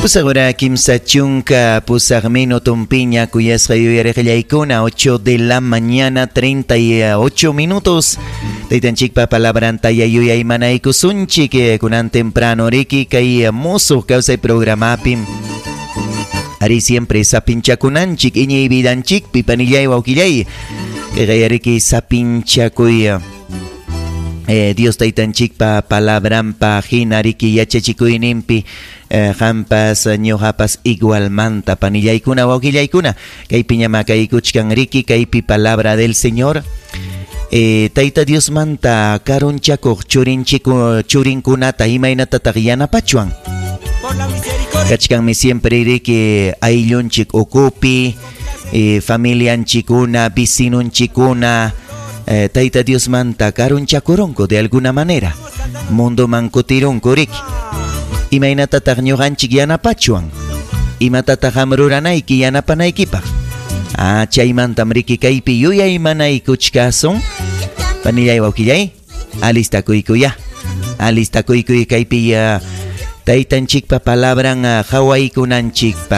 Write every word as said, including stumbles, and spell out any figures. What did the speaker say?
Pusaq hora kimsa chunka pusaq minutunpiña kuyasqa yuyariqllaykuna, ocho de la mañana treinta y ocho minutos. Taytanchikpa palabranta yuyaymanaykusunchik kunan temprano riki kay Musuq Kawsay programapi. Ari, siempre sapinchakunanchik iñiy vidanchikpi, panillay, wawqillay. Kay riki sapinchakuy eh, Dios taytanchikpa palabranpa hina riki yachachikuyninpi eh, qampas ñuqapas igualmanta, panillaykuna, wawqillaykuna. Kaypi ñama kaykuchkan riki kaypi palabra del Señor. eh, Tayta Diosmanta karunchakuq churinchiku churinkunata imaynatataq yanapachwan? Kachkanmi siempre riki ayllunchik ukupi eh, familianchikuna, vecinunchikuna eh, Tayta Diosmanta karunchakurunku de alguna manera, mundoman kutirunku riki. Imaynatataq ñuqanchik yanapachwan? Imatataq qam ruranayki yanapanaykipaq? Ah, chaymantam riki kaypi yuyaymanaykuchkasun. Panillay, wawqillay, alistakuykuya, alistakuykuy kaypi uh, taytanchikpa palabran uh, qawaykunanchikpaq.